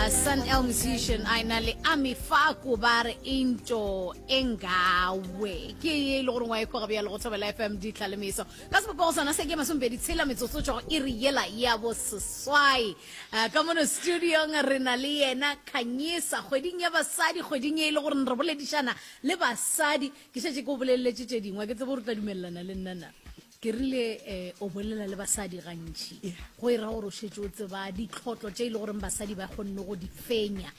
Sun El Musician a ena le Ami Faku ba re into engawe ke ye e le gore ngwa e kwa bjalo go Thobela FM ditlha le meso ka sebopego sona se ke masomepedi tshela metsotso tšwa go iri yela ya boseswai uh, ka mono studiong re na le yena Khanyisa kgweding ya basadi kgweding ye e le gore re boledišana le basadi ke šetše ke o boleleletše tše dingwe ke tsebe gore o tla dumelelana le nna na Ke rile, eh, o bolela le basadi gantši. Go e ra gore o šetše o tseba ditlhotlo tše e le goreng basadi ba kgonne go di fenya.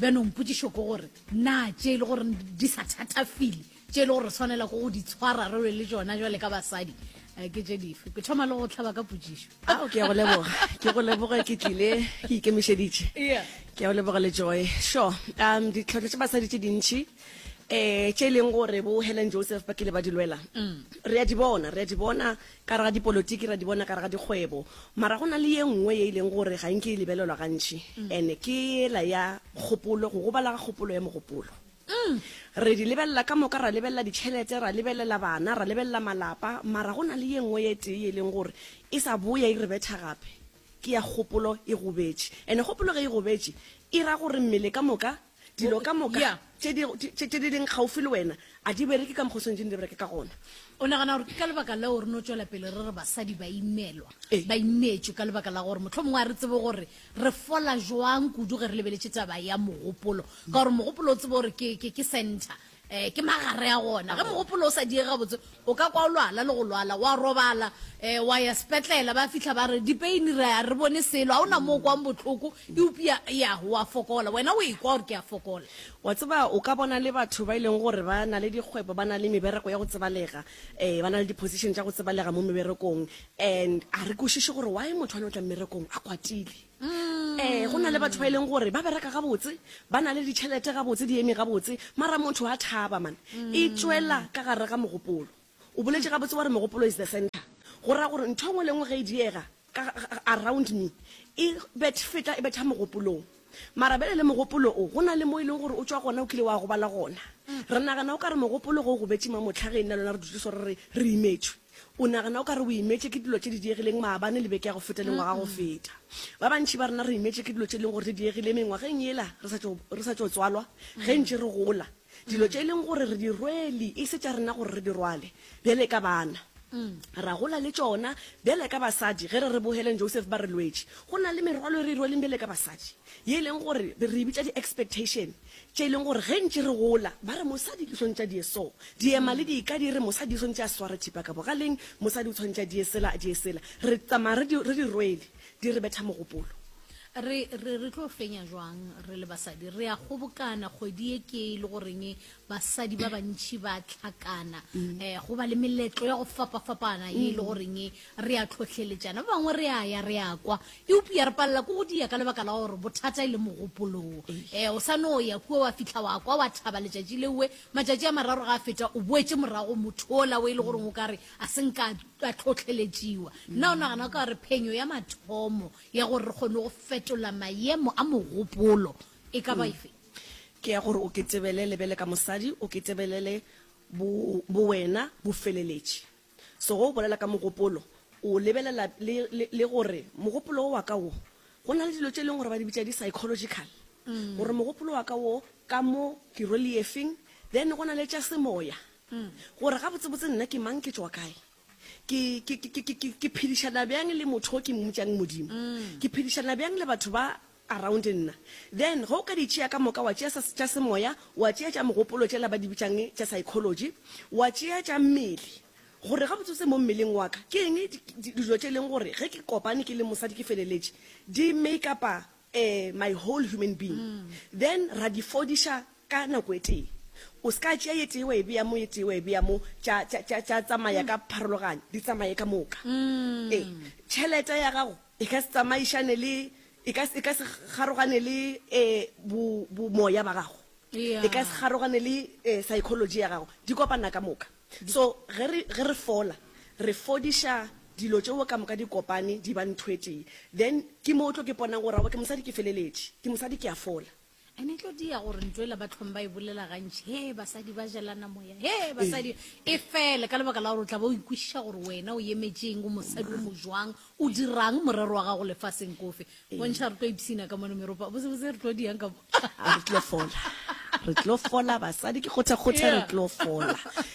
Bjanong potšišo ke gore, na tše e le gore di sa thatafile, tše e le gore re swanela ke go di tshwara re lwe le tšona jwale ka basadi, eh, ke tše dife? Ke thoma le go hlaba ka potšišo. Ao, ke a go leboga. Ke go leboga ke tlile ke ikemišeditše. Yeah. Ke a go leboga le Joy. Sure. Um, ditlhotlo tša basadi tše dintši um tše e leng gore bo Helen Joseph ba kile ba di lwela re a di bona, re a di bona ka gare ga dipolotiki, re a di bona ka gare ga dikgwebo, mara go na le ye nngwe ye e leng gore ga nke e lebelelwa gantši and ke yela ya kgopolo, go gobala ga kgopolo ya mogopolo. Re di lebelela ka moka, ra lebelela ditšhelete, ra lebelela bana, ra lebelela malapa, mara go na le ye nngwe ye tee ye e leng gore e sa boya e re betha gape, ke ya kgopolo e gobetše. And kgopolo ge e gobetše e ra gore mmele ka moka Dilo ka moka Yeah. tše di, tše, tše di leng kgaufsi le wena a di bereke ka mokgwa o swanetšeng di bereke ka gona. O nagana gore ke ka lebaka leo re no tšwela pele re re basadi ba imelwa, Ee. ba imetšwe ka lebaka la gore mohlomongwe ga re tsebe gore re fola jwang kudu ge re lebeletše taba ya mogopolo, ka gore mogopolo o tsebe gore ke, ke, ke center, um ke magare a gona. Ge mogopolo o sa diege gabotse, o ka kwa o lwala le go lwala, wa robala, um wa ya sepetlela, ba fihla ba re dipeini re a re bone selo, ga o na mo o kwang bohloko, eupša ya wa fokola. Wena o ekwa gore ke a fokola. Wa tseba, o ka bona le batho ba e leng gore ba na le dikgwebo, ba na le mebereko ya go tsebalega, um ba na le di-position tša go tsebalega mo meberekong, and a re kwešiše gore why motho a no tla mmerekong a kwatile. Ee, go na le batho ba e leng gore ba bereka gabotse, ba na le ditšhelete gabotse, di eme gabotse, mara motho a thaba man. E tšwela ka gare ga mogopolo. O boletše gabotse wa re mogopolo is the center. Go ra gore ntho e nngwe le nngwe ge e diega ka around me, e bet feta e betha mogopolong. Mara bjale le mogopolo o, go na le mo e leng gore o tšwa gona, o kile wa gobala gona. Re nagana o ka re mogopolo ge o gobetše mamohla ge nna le wena re dutše so re re re imetšwe. O nagana o ka re o imetše ke dilo tše di diegileng maabane le beke ya go feta le ngwaga go feta. Ba bantši ba rena re imetše ke dilo tše e leng gore di diegile mengwageng yela re sa tšo, re sa tšo tswalwa, ge ntše re gola. Dilo tše e leng gore re di rwele e se tša rena gore re di rwale bjale ka bana. Ra gola le tšona bjale ka basadi. Ge re re bo Helen Joseph ba re lwetše, go na le merwalo e re e rweleng bjale ka basadi, ye e leng gore re e bitša di-expectation. Tše e leng gore ge ntše re gola, ba re mosadi ke swantše a die so. Diema le dika di re mosadi o swantše a sware thipa ka bogaleng, mosadi o tshwantše a die sela, a die sela. Re tsamaya re di, re di rwele, di re betha mogopolo. Re, re, re tlo fenya jwang re le basadi? Re a kgobokana kgwedi ye ke e le goreng basadi ba bantši ba hlakana, eh, go ba le meletlo ya go fapafapana ye e le goreng re a tlhohleletšana. Ba bangwe re a ya, re a kwa, Eupša re palela ke go dia ka lebaka la gore bothata e le mogopolong. E, o sa no ya kua wa fihla wa kwa wa thaba letšatši lewe, matšatši a mararo ga a feta o boetše morago motho ola o e le goreng o ka re a se nka a tlhohleletšiwa. Nna o nagana o ka re phenyo ya mathomo ya gore re kgone go fetola maemo a mogopolo e ka ba efe? Ke ya gore o ketebelele bjale ka mosadi, o ketebelele bo, bowena bo feleletše. So ge o bolela ka mogopolo, o lebelela le, le, le gore mogopolo wo wa ka wo, go na le dilo tše e leng gore ba di bitša di-psychological, gore mogopolo wa ka wo ka mo ke rwele efeng, then go na le tša semoya, gore gabotsebotse nna ke mang, ke tšwa kae, ke, ke, ke, ke, ke, ke phedišana bjang le motho o ke mmitšang Modimo, ke phedišana bjang le batho ba around nna. Then ge o ka di tšea ka moka, wa tšea sa, tša semoya, wa tšea tša mogopolo tšela ba di bitšang tša psychology, wa tšea tša mmele, gore gabotsebotse mo mmeleng wa ka ke eng di, di, dilo tše e leng gore ge ke kopane ke le mosadi ke feleletše di make up-a eh, my whole human being. Then ra di fodiša ka nako e tee. O se ka tšea ye tee wa e bea mo, ye tee wa e bea mo, tša, tša, tša, tša tsamaya ka pharologanyo, di tsamaye ka moka. Ee, tšhelete ya gago e ka se tsamaišane le E ka, e ka se kgarogane le eh, bo, bo moya ba gago. Yeah. E ka se kgarogane le eh, psychology ya gago. Di kopana ka moka. So ge re, ge re fola, re fodiša dilo tšeo ka moka di kopane di ba ntho e tee. Then ke mo o tlo ke ponang gore aowa ke mosadi ke feleletše, ke mosadi ke a fola. Ene e tlo dia gore ntho ela ba tlhong ba e bolela gantši, he basadi ba jelana moya, he basadi, e fele ka lebaka la gore o tla ba o ikwešiša gore wena o emetšeng, o mosadi o mo jwang, o dirang, morero wa gago lefaseng ke ofe. Bontšha re tlo ipshina ka mono meropa, botsebotse re tlo diang ka mo. A re tlo fola, re tlo fola basadi, ke kgotha-kgotha re tlo fola,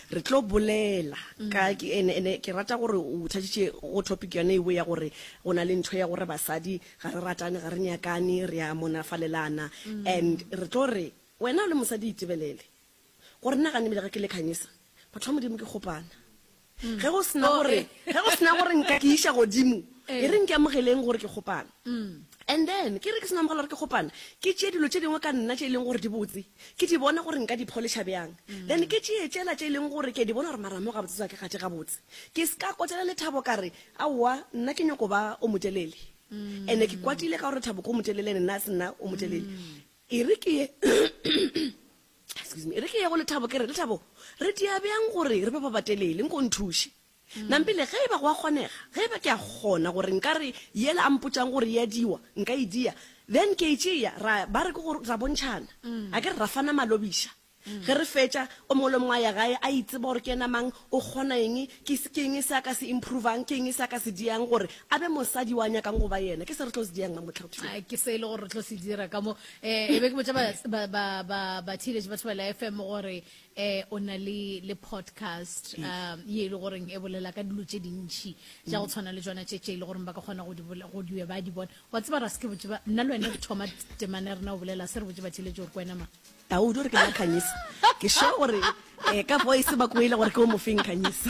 re tlo bolela ka, ke, ene, ene ke rata gore o thatšitše go topic yone eo ya gore go na le ntho ya gore basadi Ga re ratane, ga re nyakane, re a monafalelana. And re tlo re, wena o le mosadi itebelele. Gore nna gane ebile ge ke le Khanyisa, batho ba Modimo ke kgopana. Ge go sena gore, ge go sena gore nka ke iša godimo, e reng ke amogeleng gore ke kgopana. And then, ke re ke seno amogela gore ke kgopana, ke tšee dilo tše dingwe ka nna tše e leng gore di botse, ke di bone gore nka di polisha bjang. Then ke tšee tšela tše e leng gore ke a di bona gore mara mo gabotse tswa ke gate gabotse. Ke se ka kwatela Lethabo ka re, Aowa, nna ke nyoko ba o motelele. Ene ke kwatile ka gore Thabo ke o motelele ene nna a se nna o motelele. E re ke ye excuse me, e re ke ye go Lethabo ke re, Lethabo, re dia bjang gore re be ba batelele, nko o nthuše. Nampile ge e ba go a kgonega, ge e ba ke a kgona gore nka re yela a mpotšang gore e a diwa, nka e dia, then ke e tšea, ra ba re ke gore ra bontšhana. A ke re ra fana malobiša. Ge re fetša, o mongwe le o mongwe a ya gae a itseba gore ke yena mang, o kgona eng, ke, ke eng se a ka se improve'ang, ke eng se a ka se diang gore a be mosadi yo a nyakang go ba yena. Ke se re tlo se diang mamotlha. Ke se e le gore re tlo se dira ka mo. Um e be ke botša ba, ba, ba, ba, batheeletši ba Thobela FM gore um o na le, le podcast um ye e le goreng e bolela ka dilo tše dintši tša go tshwana le tšona tše, tše e le goreng ba ka kgona go di bolela, go di, ba di bona. Wa tseba ra se ke botše ba, nna le wena re thoma temana ya rena go bolela, se re botše batheeletši gore ke wena mang. Taudi o re ke nna Khanyisa. Ke sure gore eh, ka voice ba kwele gore ke o mofeng Khanyisa.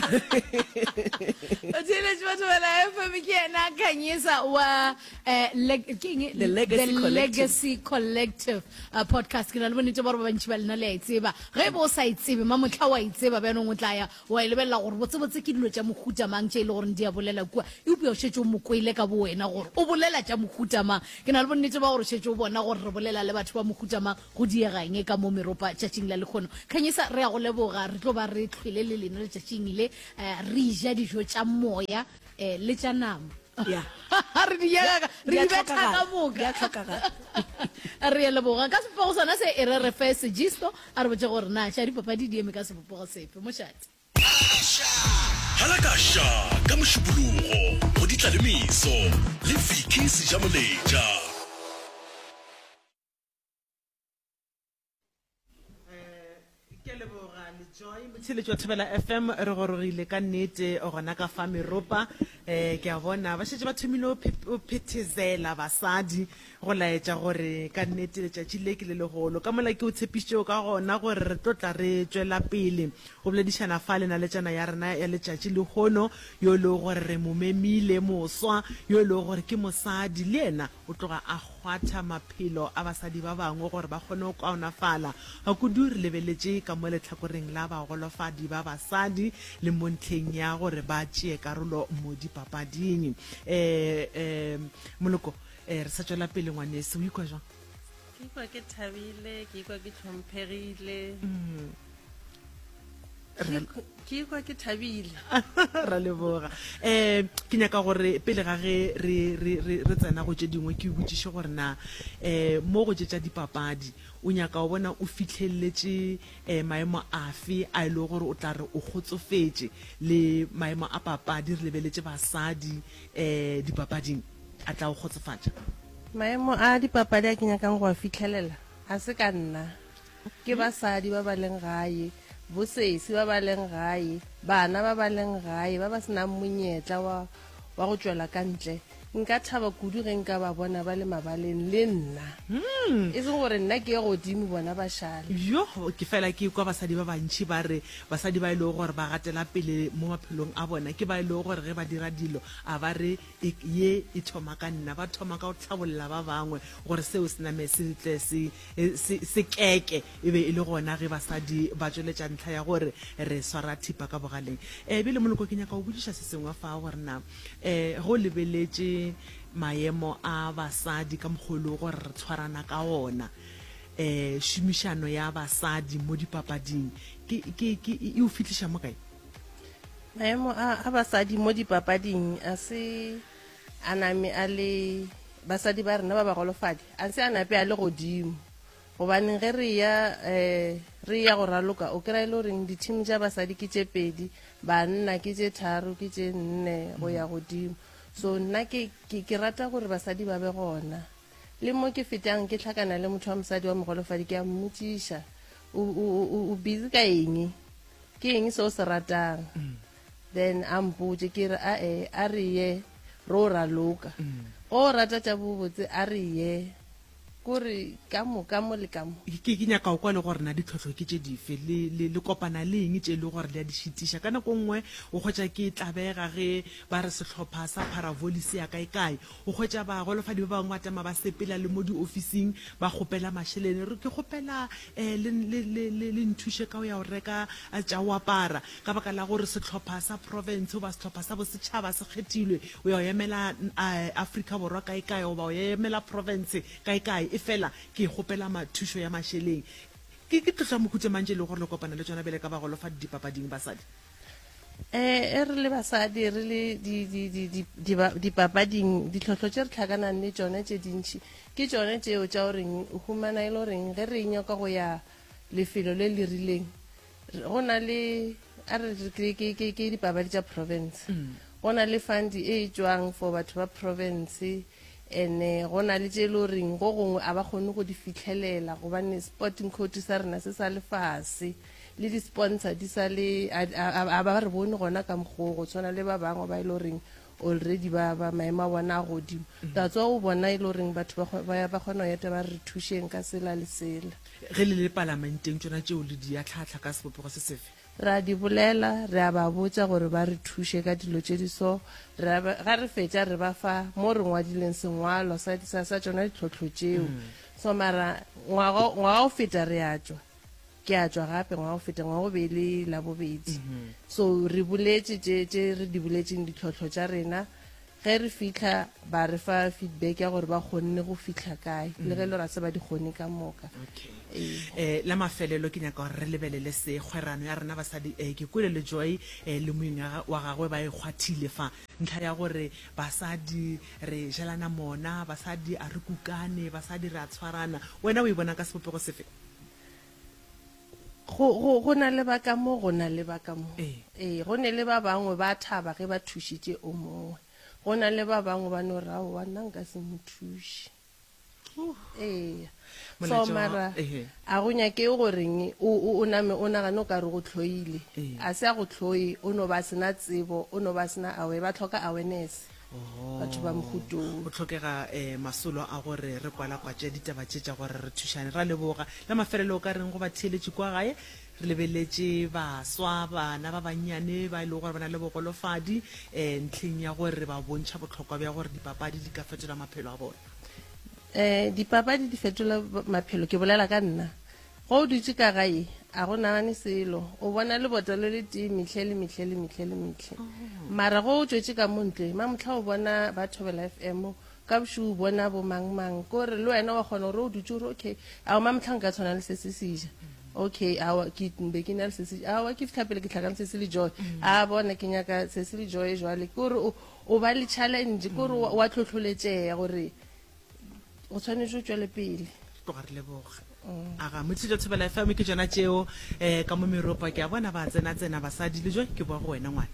Batheeletši ba Thobela FM ke yena Khanyisa wa eh, le, ke eng? The Legacy The Collective. Legacy Collective uh, podcast. Ke na le bonnete ba gore ba bantši ba lena le a e tseba. Ge e be o sa e tsebe, mamohla wa e tseba bjanong o tla ya wa e lebelela gore botsebotse ke dilo tša mohuta mang tše e le goreng di a bolela kua. Eupša o šetše o mo kwele ka bowena gore o bolela tša mohuta mang. Ke na le bonnete ba gore o šetše o bona gore re bolela le batho ba mohuta mang. Go diega eng ka mo meropa tšatšing la lekgono? Khanyisa, re a go leboga. Re tlo ba re hlwele le lena letšatšing le, eh, re ja dijo tša moya eh, le tša nama. Ya. Re di nyaka, re Di a di betha ka hlokagala, moka. di a hlokagala. Re a leboga. Ka sebopego sona se, e re re fe sejisto, a re botše gore na tša dipapadi di eme ka sebopego sefe. Mošate. Halakaša ka Mošupologo go Ditlalemeso le Vicky Sejamoletša. Ke a leboga Lejoy motheeletši wa Thobela FM re gorogile ka nnete gona ka fa meropa um ke a bona ba šetše ba thomile go phethezela basadi go laetša gore ka nnete letšatši le ke le legolo ka mola ke o tshepišitšego ka gona gore re tlo tla re tšwela pele go boledišana fa le naletšana ya rena ya letšatši lehono yo e lego gore re mo memile moswa yo e lego gore ke mosadi le yena O tloga a kgwatha maphelo a basadi ba bangwe gore ba kgone go kaonafala, kudu re lebeletše ka mo lehlakoreng la bagolofadi ba basadi le mo ntlheng ya gore ba tšee karolo mo dipapading. Um Moloko, re sa tšwela pele ngwaneso, o ikwa jwang? Ke ikwa ke thabile, ke ikwa ke hlomphegile. Ke ikwa ke thabile. Ra leboga. Um ke nyaka gore pele ga ge re, re, re, re tsena go tše dingwe ke botšiše gore na um mo go tše tša dipapadi o nyaka go bona o fihleletše um maemo afe a e lego gore o tla re o kgotsofetše le maemo a papadi re lebeletše basadi um dipapading a tla o kgotsofatša? Maemo a dipapadi a ke nyakang go a fihlelela ga se ka nna. Ke basadi ba ba leng gae, bosesi ba ba leng gae, bana ba ba leng gae ba ba se nang monyetla wa, wa go tšwela ka ntle. Nka thaba kudu ge nka ba bona ba le mabaleng le nna. E seng gore nna ke ye godimo bona ba šale. Yo, ke fela ke kwa basadi ba bantši ba re basadi ba e lego gore ba gatela pele mo maphelong a bona ke ba e lego gore ge ba dira dilo a ba re e, ye e thoma ka nna, ba thoma ka go hlabolla ba bangwe gore seo se name se tle se Se, sekeke e be e le gona ge basadi ba tšweletša ntlha ya gore re swara thipa ka bogaleng. E, bjale Moloko ke nyaka go botšiša se sengwe fa gore na e, ge o lebeletše maemo a basadi ka mokgwa o e lego gore re tshwarana ka ona, e, šomišano ya basadi mo dipapading ke, ke, ke, e o fihliša mo kae? Maemo a, a basadi mo dipapading a se a name a le basadi ba rena ba bagolofadi a se a nape a le godimo. Gobaneng ge re eya um re eya go raloka o kry-a e le goreng di-team tša basadi ke tše pedi, banna ke tše tharo, ke tše nne go ya godimo. So nna ke, ke, ke rata gore basadi ba be gona. Le mo ke fetang ke hlakana le motho wa mogolofadi wa ke a mmotšiša, o, o, o, o busy ka eng? Ke eng se o se ratang? Then a mpotše, ke re, a-e, a re ye ro raloka. Go rata tša bobotse, a re ye. Kore ka mo, ka mo le ka mo. Ke, ke nyaka go kwa le gore na ditlhohlo ke tše dife, le, le, le kopana le eng tše e le gore le a di šitiša. Ka nako nngwe o hwetša ke tlabega ge ba re sehlopha sa Paravolley se ya kae-kae. O hwetša bagolofadi ba bangwe ba tama ba sepela le mo diofising ba kgopela mašeleng. Re, ke kgopela um le, le, le, le, le nthuše ka go ya go reka tša go apara. Ka baka la gore sehlopha sa profense goba sehlopha sa bosetšhaba se kgethilwe, o ya go emela Afrika Borwa kae-kae goba o ya emela profense kae-kae, efela ke kgopela ma, thušo ya mašeleng. Ke, ke tlhohlo ya mohuta mang tše e lego gore le kopana le tšona bjale ka bagolofadi dipapading, basadi? E, re le basadi, re le di, di, di, di, di, dipapading, ditlhohlo tše re tlhakanang le tšona tše dintši ke tšona tšeo tša goreng o humana e le goreng ge re nyaka go ya lefelo le le rileng, go na le a re ke ke ke ke dipapadi tša province go na le fund e e tšwang for batho ba province ene go na le tše e le goreng go gongwe a ba kgone go di fitlhelela gobane sporting code sa rena se sa le fase le di-sponsor di sa le a ba re bone gona ka mokgoo go tshwana le ba bangwe ba e le goreng already ba ba maemo a bona a godimo that's why o bona e le goreng batho ba ba kgona go eta ba re thušeng ka sela le sela. Ge le le palamenteng tšona tšeo le di ahlaahla ka sebopego se sefe? Re a di bolela, re a ba botša gore ba re thuše ka dilo tše di so, re a ba, ga re fetša re ba fa mo re ngwadileng sengwalwa sa, sa, sa tšona ditlhohlo tšeo. So mara ngwaga, ngwaga o feta re a tšwa, ke a tšwa gape ngwaga o feta, ngwaga o be e le Labobedi. So re boletše tše, tše re di boletšeng ditlhohlo tša rena, Ge re fihla ba re fa feedback ya gore ba kgonne go fihla kae, le ge e le gore ga se ba di kgone ka moka. Okay. Eh, la mafelelo ke nyaka gore re lebelele se, kgwerano ya rena basadi. Eh, ke kwele le Joy eh, le moeng wa gagwe ba e kgwathile fa, ntlha ya gore basadi re jelana mona, basadi a re kukane, basadi re a tshwarana. Wena o e bona ka sebopego sefe? Go, go, go na le ba ka mo, go na le ba ka mo. Ee. Ee, go ne le ba bangwe ba thaba ge ba thušitše o mongwe. Go na le ba bangwe ba no re, Aowa, nna nka se mo thuše. Ee. So, Molaetša wa- mara ehe. a go nyake goreng o, o, o name o nagane o ka re go hloile. Ee. A se a go hloye, o no ba a se na tsebo, o no ba a se na aware, ba hloka awareness. Batho ba Mogutong. Go hlokega masolo a gore re kwalakwatše ditaba tše tša gore re thušane. Ra leboga. La mafelelo o ka reng go batheeletši kua gae? Re lebeletše baswa, bana ba bannyane ba e lego gore ba na le bogolofadi ntlheng ya gore ba bontšha bohlokwa bja gore dipapadi di ka fetola maphelo a bona. Dipapadi di fetola maphelo, ke bolela ka nna. Ge o dutše ka gae, a go nagane selo. O bona lebota le le tee mehle le mehle le mehle le mehle. Mara ge o tšwetše ka mo ntle, mamohla o bona ba Thobela FM, ka bošego o bona bo mang mang. Ke gore le wena wa kgona gore o dutše o re, okay, aowa mamohla nka tshwana le se se seja. Okay, aowa ke be ke na le se se, aowa ke fihla pele ke hlakane se se le Joy. A bona ke nyaka se se le Joy jwale. Ke gore o, o ba le challenge, ke gore wa hlohloletšega gore o tshwanetše o tšwele pele. Tloga re leboga. Aga, Motšhitšo Thobela FM ke tšona tšeo eh, ka mo meropa ke a bona ba tsena tsena basadi le jo ke boa go wena ngwana.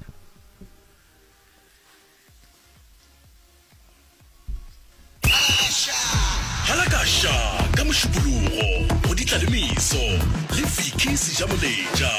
Halakasha ka Mošupologo go Ditlalemeso le Vicky Sejamoletša.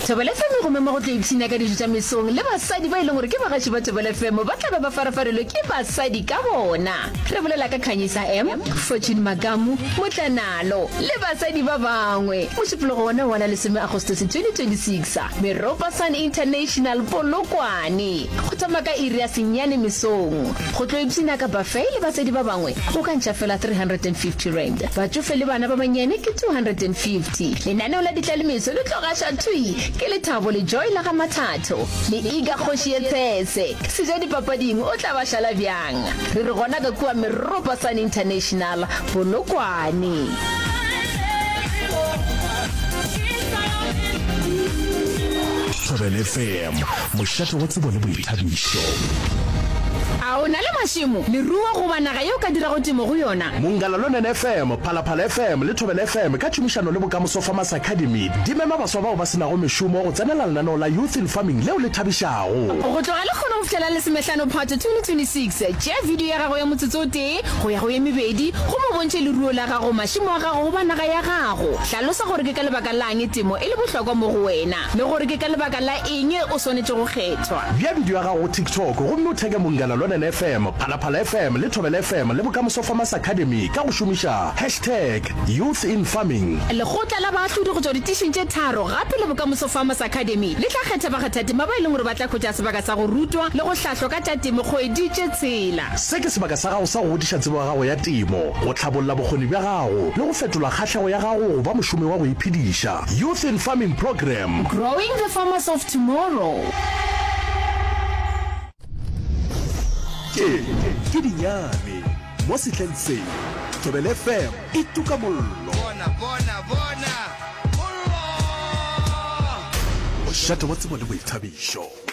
Thobela FM e go mema go tlo ipshina ka dijo tša mesong le basadi ba e leng gore ke bagaši ba Thobela FM ba tla be ba farafarilwe ke basadi ka bona. Re bolela ka Khanyisa M, Fortune Makamu, Motlanalo le basadi ba bangwe. Mošupologo wona wa la lesome Agostose 2026, Meropa Sun International, Polokwane. Go thoma ka iri ya senyane mesong. Go tlo ipshina ka buffet le basadi ba bangwe o ka ntšha fela R350. Batšofe le bana ba bannyane ke 250. Lenaneo la ditlalemeso le tlo gašwa thwi ke Lethabo le Joy la ga Mathatho le Iga Kgoši ye Tshese. Seja dipapading o tla ba šala bjang? Re re gona ka kua Meropa Sun International, Polokwane. Thobela FM, mošate wa tsebo le boithabišo. A o na le mašemo, leruo goba naga ye o ka dirago temo go yona? Mongala Lonene FM, Phalaphala FM le Thobela FM ka tšhomišano le Bokamoso Farmers Academy di mema baswa bao ba se nago mešomo go tsenela lenaneo la Youth in Farming leo le thabišago. Go tloga lekgono go fihlela lesomehlano Phato 2026, tšea video ya gago ya motsotso o tee go ya go ye mebedi gomme o bontšhe leruo la gago, mašemo a gago goba naga ya gago. Hlalosa gore ke ka lebaka la'ng temo e le bohlokwa mo go wena le gore ke ka lebaka la eng o swanetše go kgethwa. Bea bidio ya gago go TikTok gomme o theke Munghana Lonene FM, Phalaphala FM le Thobela FM le Bokamoso Farmers Academy ka go šomiša hashtag YouthInFarming. Lekgotla la baahlodi go tšwa ditišing tše tharo gape le Bokamoso Farmers Academy le tla kgetha bakgathatema ba e leng gore ba tla hwetša sebaka sa go rutwa le go hlahlwa ka tša temo kgwedi tše tshela. Se ke sebaka sa gago sa go godiša tsebo ya gago ya temo, go hlabolla bokgoni bja gago le go fetola kgahlego ya gago go ba mošomi wa go iphediša. Youth in Farming Programme. Growing the farmers of tomorrow. Tše ke dinyane mo sehleng se. Thobela FM e tuka mollo. Bona, bona, bona, mollo! Mošate wa tsebo le boithabišo.